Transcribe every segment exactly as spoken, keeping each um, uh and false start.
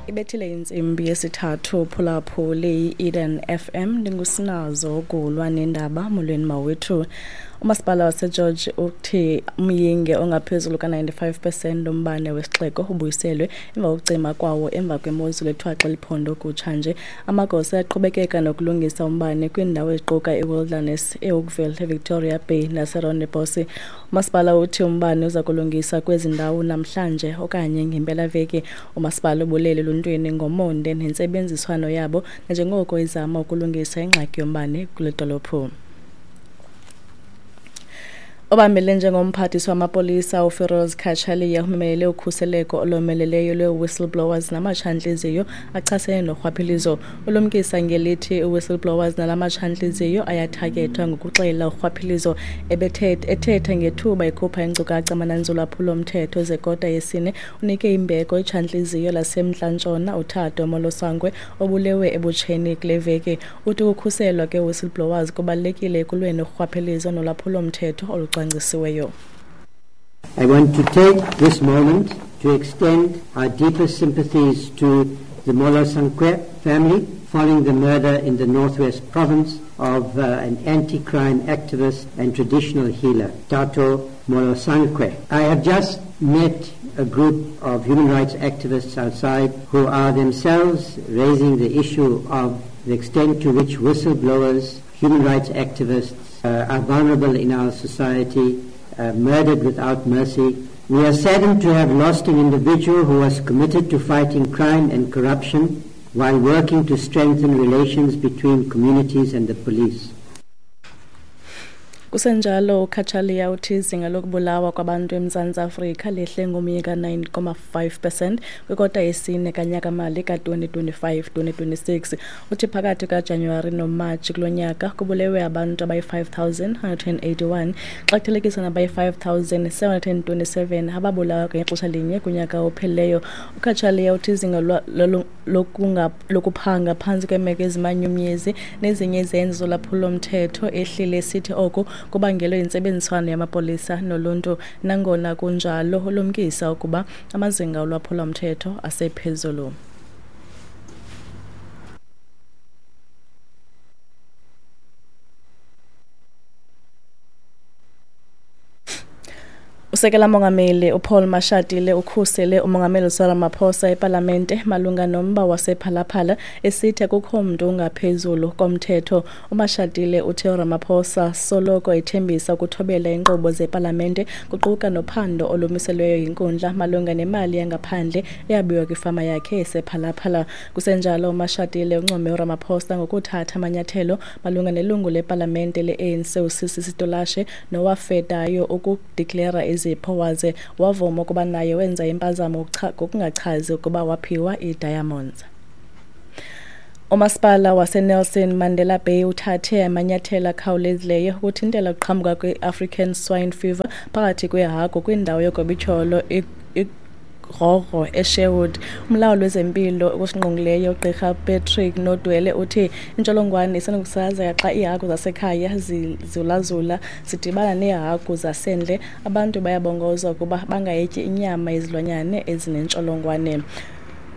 Ibethile intsimbi yesithathu phulaphuli i-Eden F M ndingusinazo kulwa nendaba molweni mawethu. Umasipala waseGeorge uthi umyinge ongaphezulu ka-ninety-five percent umbane wesixeko ubuyiselwe emva kokucima kwawo emva kwemozulu ethwaxa liphondo kutshanje. Amagosa aqhubekeka nokulungisa umbane kwiindawo eziquka iWilderness, eOakville, eVictoria Bay naseRondebosch. Umasipala uthi umbane uza kulungisa kwezi ndawo namhlanje okanye ngempelaveki. Umasipala ubulele eluntwini ngomonde nentsebenziswano yabo nanjengoko izama ukulungisa ingxaki yombane kule dolophu. Obambele njengomphathiswa wamapolisa uFiroz Cachalia umemelele ukhuseleko olomeleleyo lwe-whistleblowers namatshantliziyo achasene norhwaphilizo. Ulumkisa ngelithi i-whistleblowers nalamatshantliziyo ayathathwa ngokuxela urhwaphilizo. Ethetha ngethuba ekhupha iinkcukacha amananzi olwaphulo-mthetho zekota yesine, unike imbeko itshantliziyo laseMntla-Ntshona uThato Molosangwe obulewe ebutsheni kule veki. Uthi ukukhuselwa kwe-whistleblowers kubalulekile ekulweni urhwaphilizo nolwaphulo-mthetho olucwangcisiweyo. I want to take this moment to extend our deepest sympathies to the Molosankwe family following the murder in the Northwest Province of uh, an anti-crime activist and traditional healer, Tato Molosankwe. I have just met a group of human rights activists outside who are themselves raising the issue of the extent to which whistleblowers, human rights activists, uh, are vulnerable in our society, uh, murdered without mercy. We are saddened to have lost an individual who was committed to fighting crime and corruption while working to strengthen relations between communities and the police. Kusenjalo uCachalia uthi izinga lokubulawa kwabantu eMzantsi Afrika lehle ngomyinge ka-nine comma five percent kwikota yesine kanyaka-mali ka-twenty twenty-five twenty twenty-six. Uthi phakathi kaJanuwari noMatshi kulo nyaka kubulewe abantu abayi-five thousand one hundred eighty-one xa kuthelekiswa nabayi-five thousand seven hundred twenty-seven ababulawa ngexesha linye kunyaka ophelileyo. UCachalia uthi izinga lokuphanga phantsi kweemeko ezimanyumnyezi nezinye izenzo zolwaphulo-mthetho ehlile, esithi oku kubangelwe yintsebenziswano yamapolisa noluntu. Nangona kunjalo, ulumkisa ukuba amazinga olwaphulo-mthetho asephezulu. Usekela mongameli uPaul Mashatile ukhusele umongameli Cyril Ramaphosa epalamente malunga nomba wasePhalaphala esithi akukho mntu ungaphezulu komthetho. UMashatile uthe uRamaphosa soloko ethembisa ukuthobela iinkqubo zepalamente kuquka nophando olumiselweyo yinkundla malunga nemali yangaphandle eyabiwa kwifama yakhe esePhalaphala. Kusenjalo uMashatile uncome uRamaphosa ngokuthatha amanyathelo malunga nelungu lepalamente le-A N C uSisi Sitolashe nowafedayo ukudiklera izipho waze wavuma ukuba naye wenza impazamo ngokungachazi ukuba waphiwa ii-diamonds. Umasipala waseNelson Mandela Bay uthathe amanyathelo akhawulezileyo ukuthintela ukuqhambuka kwe-African Swine Fever phakathi kweehagu kwindawo yogobityholo iGrogro eSherwood. Umlawuli wezempilo okusingqongileyo uGqirha Patrick Nodwele uthi intsholongwane isenokusasazeka xa iihagu zasekhaya zizulazula zidibana neehagu zasendle. Abantu bayabongozwa ukuba bangayityi inyama yezilwanyana ezinentsholongwane.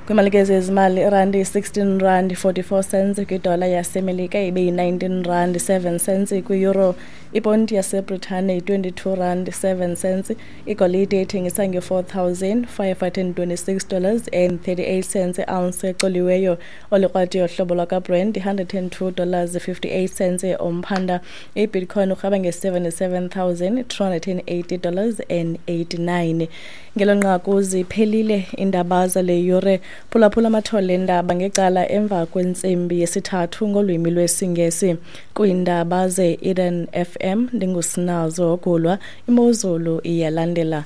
Kwimalike zezimali, irandi yi-sixteen rand forty-four cents kwidola yaseMelika ibe yi-nineteen rand seven cents kwi-euro. Iponti yaseBritane yi-twenty-two rand seven cents. Igolide ithengisa nge-four thousand five hundred twenty-six dollars and thirty-eight cents i-ounce ecoliweyo. Olikrwati yohlobo lwakaBrent yi-hundred and two dollars fifty-eight cents umphanda. IBitcoin urhaba nge-seventy-seven thousand two hundred eighty dollars and eighty-nine. Ngelo nqaku ziphelile iindaba zale yure. Phulaphula amathole endaba ngecala emva kwentsimbi yesithathu ngolwimi lwesiNgesi. Kwiindaba ze-Eden F M ndingusinazo Gulwa. Imozulu iyalandela.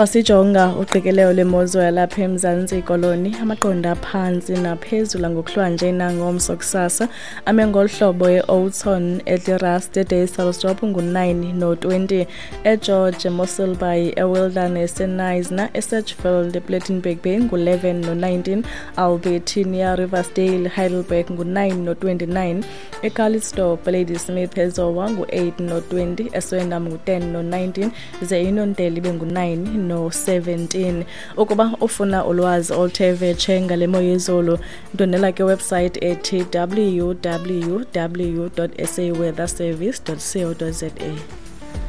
Xa sijonga uqikelelo lwemozulu yalapha eMzantsi Koloni, amaqondo aphantsi naphezulu ngokuhlwanje nangomso kusasa ame ngolu hlobo: e-Oudtshoorn, eDe-Rust, eDysselsdorp ngu-nine no-twenty, eGeorge, eMossel Bay, eWilderness, eKnysna, eSedgefield, ePlettenberg Bay ngu-eleven no-nineteen, Albertinia, Riversdale, Heidelberg ngu-nine no-twenty-nine, eCalitzdorp, Ladysmith, eZowa ngu-eight no-twenty, eSwendam ngu-ten no-nineteen, ze iNontele ibe ngu-nine no-seventeen. Ukuba ufuna ulwazi oluthe vetshe ngale mo yezulu, ndwendwela ke website ethi w w w dot s a weather service dot co dot za.